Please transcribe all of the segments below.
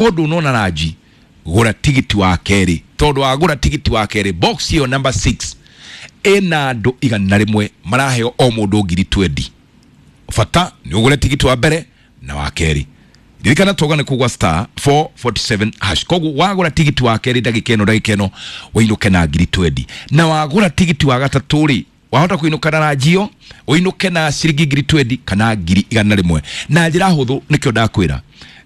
Ndunona ranji gura tigiti wa keri tondu wagura tigiti wa keri box iyo number 6 ina andu 100 maraheo o mundu 20,000. Bata ni ugure tigiti wa mbere na wa keri. Ririkana toga ni kugwa star 447 hash. Koguo wagura tigiti wa keri ndagika ĩno wĩinũke na 20,000. Na wagura tigiti wa gatatũ rĩ wahota kuinuka na ranjio uinuke na ciringi 20,000 kana 100,000. Na njĩra hũthũ nĩkĩo ndakwĩra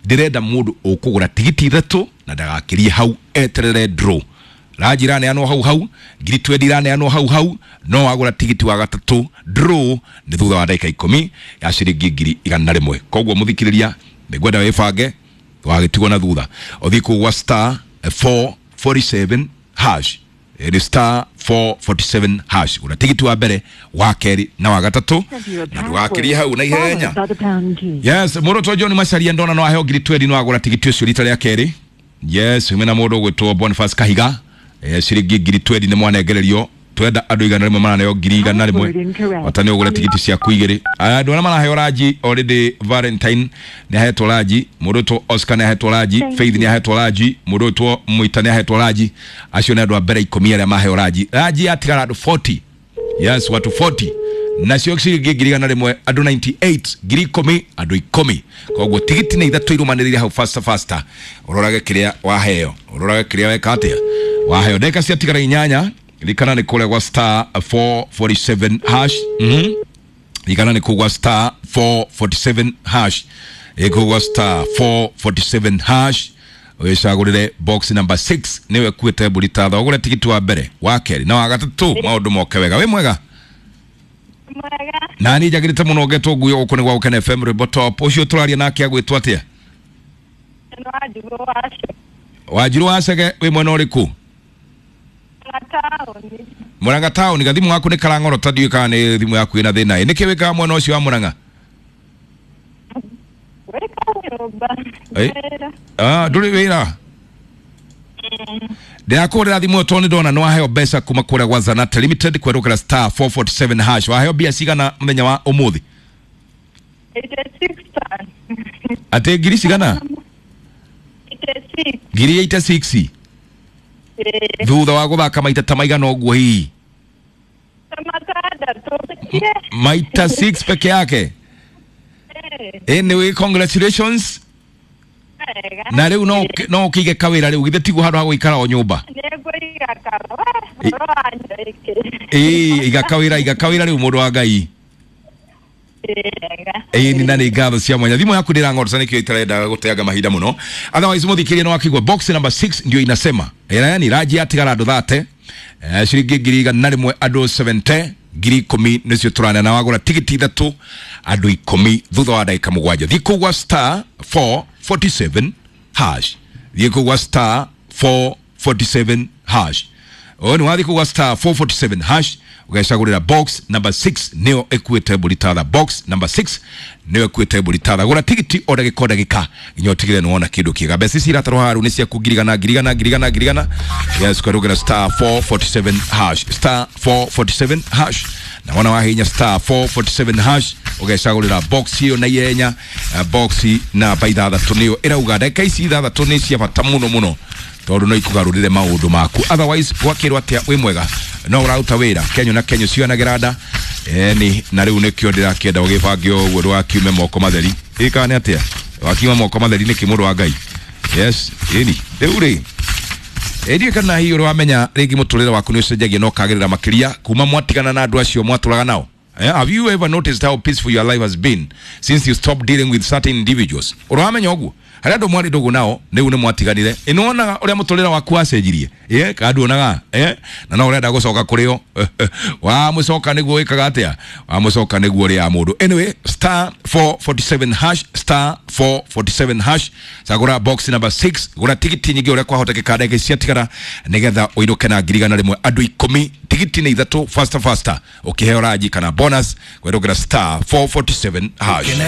ndĩrenda mũndũ ũkũgũra tigiti 3 na ndagakirie hau eterere draw. Ranji iraneanwo hau hau, 20,000 iraneanwo hau hau, no wagũra tigiti wa gatatũ draw nĩ thutha wa ndagĩka 10 ya ciringi 100,000. Koguo mũthikĩrĩria nĩngwenda wĩbange wagĩtigwo na thutha ũthiĩ kũgwa star 447 hash. Ni star 447 hash. Gũra tigiti wa mbere, wa keri na wa gatatũ na ndũgakirie hau na ihenya. Yes, mũrũtwo John Macharia ndona no aheo 20,000 no agũra tigiti ũcio rita rĩa kerĩ. Yes, wĩna mũndũ ũgwĩtwo Boniface Kahiga. Ciringi 20,000 nĩ mwanengererio. Twenda andũ 100 maraneo 100,000 bata nĩ ũgũre tigiti ciaku 2. Andũ arĩa maraheo ranji already Valentine nĩ ahetwo ranji, mũndũ ũtwo Oscar nĩ ahetwo ranji, Faith nĩ ahetwo ranji, mũndũ ũtwo Mwita nĩ ahetwo ranji. Acio nĩ andũ a mbere 10 arĩa maheo ranji. Ranji yatigara andũ 40. Yes, watu 40. Nacio ciringi 100,000 andũ 98, 10,000 andũ 10. Koguo tigiti nĩ 3 irumanĩrĩire hau faster faster. Ũrorage kĩrĩa waheo, ũrorage kĩrĩa weka atĩa waheo. Ndagĩka ciatigara 8. Ririkana nĩ kũrĩa gwa star 447 hash. Ririkana nĩ kũgwa star 447 hash. Ĩkũgwa star 447 hash. Wĩcagũrĩre box number 6 nĩwe kuĩte mbũri ta tha. Ũgũre tigiti wa mbere, wa kerĩ na wa gatatũ maũndũ moke wega. Wĩ mwega? Mwega. Na niĩ njagĩrĩte mũno ngetwo nguo gũkũ nĩ gwa Gũkena FM Rwĩmbo Top. Ũcio tũraria nake agwĩtwo atĩa? Wanjirũ wa Cege wĩ mwena ũrĩkũ? Murang'a town. Gathimu gaku nĩ karang'orota ndiũĩ kana nĩ thimũ yaku ĩna thĩna ĩ. Nĩkĩ wĩkaga mwena ũcio wa Murang'a? Ndũrĩ wĩra? Ndĩrakũhũrĩra thimũ ĩyo tondũ nĩndona nĩwaheo mbeca kuma kũrĩa gwa Zanate Limited kwerũkĩra star 447 hash. Waheo mbia cigana mũthenya wa ũmũthĩ? Atĩ ngiri cigana? 86,000. Thutha wa gũthaka maita ta maigana ũguo hihi? Maita 6 peke yake. Anyway, congratulations. Na rĩu no ũkĩige kawĩra rĩu githĩ tiguo handũ ha gũikara o nyũmba? Ĩĩ, iga kawĩra rĩu mũndũ wa Ngai. Ĩĩ, na nĩ ngatho cia mwanya. Thimũ yaku ndĩrang'orota nĩkĩo itarendaga gũteanga mahinda mũno. Otherwise mũthikĩrĩria no akigua box number 6 ndio inasema. Yani ranji yatigara andũ 30, ciringi 100,000 andũ 70, 10,000 nĩcio tũrane na wagũra tigiti 3 andũ 10 thutha wa ndagĩka 7. Thiĩ kũgwa star 447 hash. Thiĩ kũgwa star 447 hash. Ũyũ nĩ wathiĩ kũgwa star 447 hash ũgecagũrĩra box number 6 nĩyo ĩkuĩte mbũri tatha. Box number 6 nĩyo ĩkuĩte mbũri tatha. Gũra tigiti o ndagĩka o ndagĩka nginya ũtigĩrĩre nĩwona kĩndũ kĩega. Mbeca ici iratarwo haha rĩu nĩ ciaku 100,000 100,000 100,000 100,000. Yes, kwerũgĩra star 447 hash. Star 447 hash. Na wona wahinya star 447 hash ũgecagũrĩra box ĩyo na ihenya. Box namba 6 nĩyo ĩrauga ndagĩka ici 6 nĩ cia bata mũno mũno tondũ no ikugarũrĩre maũndũ maku. Otherwise gwakĩrwo atĩa wĩ mwega no ũraruta wĩra kenyo na kenyo cionagĩra nda ni na rĩu nĩkĩo ndĩrakĩenda ũgĩbange ũguo ndũgakiume moko matheri. Ĩ kana nĩ atĩa wakiuma moko matheri nĩkĩ mũndũ wa Ngai? Yes, ĩni rĩu rĩ ĩndĩ kana hihi ũrĩ wamenya rĩngĩ mũtũrĩre waku nĩ ũcenjagia na ũkagĩrĩra makĩria kuma mwatigana na andũ acio mwatũraga nao? Have you ever noticed how peaceful your life has been since you stopped dealing with certain individuals? Ũrĩ wamenya ũguo? Harĩa andũ mwarĩ ndũgũ nao rĩu nĩ mwatiganire. Ĩ nĩwonaga ũrĩa mũtũrĩre waku wacenjirie? Ĩ kana nduonaga? Na no ũrenda gũcoka kũrĩ o. Wamũcoka nĩguo wĩkaga atĩa? Wamũcoka nĩguo ũrĩaga mũndũ. Anyway, star 447 hash, star 447 hash. Cagũra box number 6, gũra tigiti nyingĩ ũrĩa kwahotekeka ndagĩka ciatigara nĩgetha ũinũke na 100,000 andũ 10, tigiti nĩ 3 faster faster ũkĩheo ranji kana bonus kwerũkĩra star 447 hash.